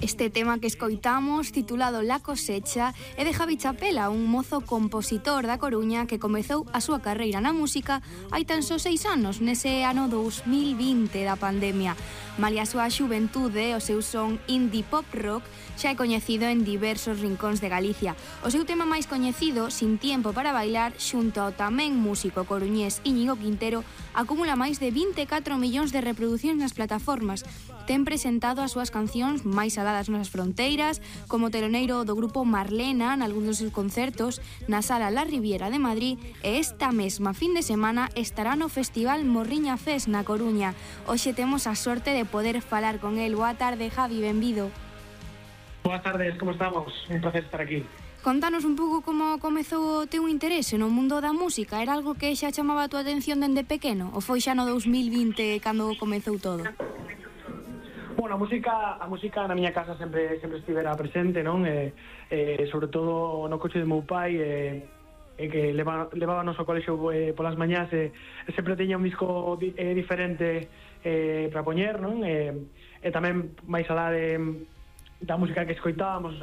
Este tema que escoitamos, titulado La Cosecha, é de Javi Chapela, un mozo compositor da Coruña que comezou a súa carreira na música hai tan só 6 anos, nese ano 2020 da pandemia. Malia a súa xuventude, o seu son indie pop rock xa é coñecido en diversos rincóns de Galicia. O seu tema máis coñecido, Sin Tiempo para Bailar, xunto ao tamén músico coruñés Íñigo Quintero, acumula máis de 24 millóns de reproduccións nas plataformas. Ten presentado as súas cancións máis aladas nas fronteiras, como teloneiro do grupo Marlena nalgúns dos seus concertos na Sala La Riviera de Madrid, e esta mesma fin de semana estará no Festival Morriña Fest na Coruña. Hoxe temos a sorte de poder falar con el. Boa tarde, Javi, benvido. Boas tardes, como estamos? Un placer estar aquí. Contanos un pouco como comezou o teu interese no mundo da música. Era algo que xa chamaba a tua atención dende pequeno? Ou foi xa no 2020 cando comezou todo? Bueno, a música na miña casa sempre estivera presente, non? Sobre todo no coche de meu pai, que levábanos ao colexo polas mañás, sempre tiña un disco diferente para poñer, non? E tamén máis alá da música que escoitábamos,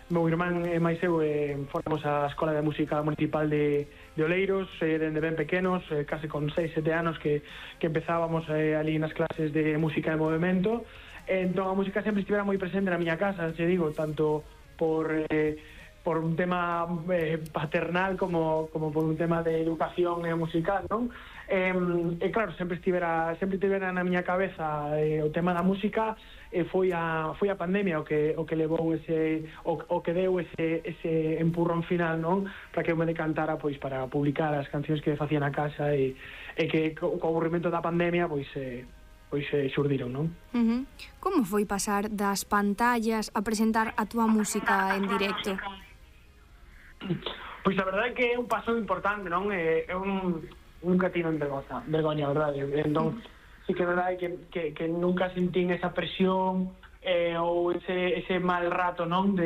meu irmán e máis eu formamos a Escola de Música Municipal de Oleiros dende ben pequenos, case con 6-7 anos que empezábamos ali nas clases de música de movimento. Entón a música sempre estivera moi presente na miña casa, te digo, tanto por un tema paternal como por un tema de educación musical, non? E claro, sempre tivera na miña cabeza o tema da música. Foi a pandemia o que levou o que deu ese empurrón final, non? Para que eu me decantara pois para publicar as cancións que facía na casa e que co aburrimento da pandemia pois xurdiron, non? Como foi pasar das pantallas a presentar a túa música en directo? Pois a verdade é que é un paso importante, non? Nunca tino vergoña, a verdade. Entón, sí que é verdade que nunca sentín esa presión ou ese mal rato, non?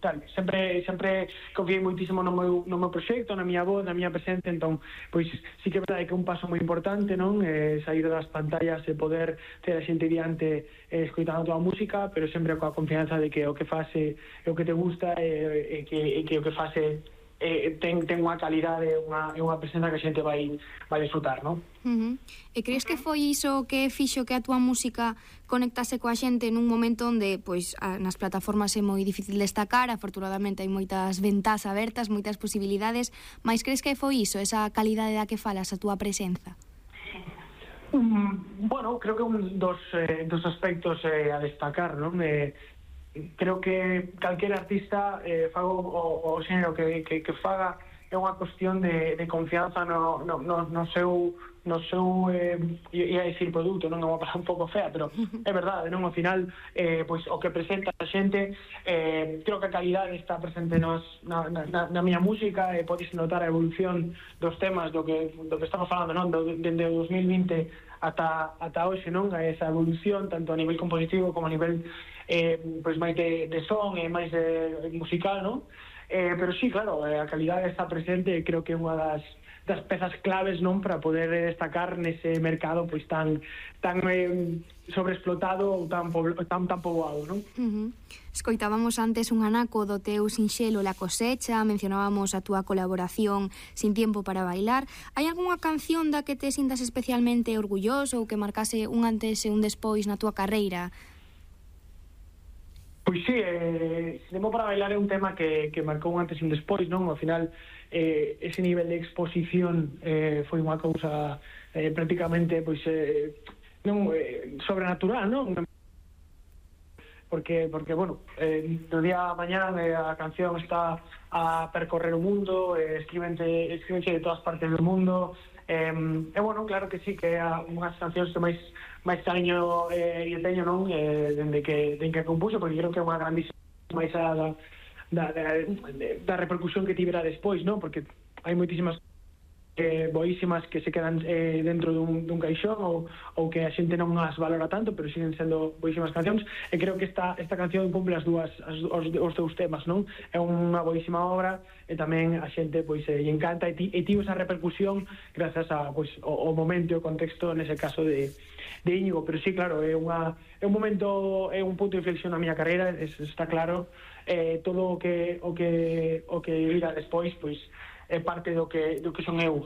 Tal, sempre confiei moitísimo no meu proxecto, na miña voz, na miña presencia. Entón, pois sí que é verdade que é un paso moi importante, non? Sair das pantallas e poder ter a xente diante escoitando a tua música, pero sempre coa confianza de que o que fase é o que te gusta e que o que fase ten unha calidade, unha presenza que a xente vai disfrutar, non? E crees que foi iso que fixo que a túa música conectase coa xente nun momento onde pois nas plataformas é moi difícil destacar? Afortunadamente hai moitas ventás abertas, moitas posibilidades, mais crees que foi iso, esa calidade da que falas, a túa presenza? Bueno, creo que un dos aspectos a destacar, non? Creo que calquer artista faga o xénero que faga é unha cuestión de confianza no seu ia dicir produto, non é unha palabra un pouco fea, pero é verdade, non? Ao final, pois o que presenta a xente, creo que a calidade está presente na miña música, e podes notar a evolución dos temas do que estamos falando, non? Dende o 2020 ata hoxe, non? Esa evolución, tanto a nivel compositivo como a nivel pois máis de son e máis de musical, non? Pero sí, claro, a calidade está presente e creo que é unha das pezas claves, non, para poder destacar nese mercado pois tan sobreexplotado ou tan poboado, non? Escoitábamos antes un anaco do teu sinxelo La Cosecha, mencionábamos a túa colaboración Sin Tiempo para Bailar. Hai algunha canción da que te sintas especialmente orgulloso ou que marcase un antes e un despois na túa carreira? Pois sí, Sin Tiempo para Bailar é un tema que marcou un antes e un despois, non? Ao final, ese nivel de exposición foi unha cousa prácticamente pois sobrenatural, non? Porque bueno, do día a mañán a canción está a percorrer o mundo, escríbense de todas partes do mundo, e bueno, claro que sí, que é unhas cancións que máis cariño e teño, non? Dende que compuxo, porque creo que é unha grandísima máis da repercusión que tivera despois, non? Porque hai moitísimas boísimas que se quedan dentro dun caixón ou que a xente non as valora tanto, pero siguen sendo boísimas cancións, e creo que esta canción cumple os dous temas, non? É unha boísima obra e tamén a xente pois lle encanta e tivo esa repercusión grazas a pois o momento e o contexto, nese caso de Íñigo, pero sí, claro, é un momento, é un punto de inflexión na miña carreira, está claro. Todo o que virá despois, pois é parte do que son eu,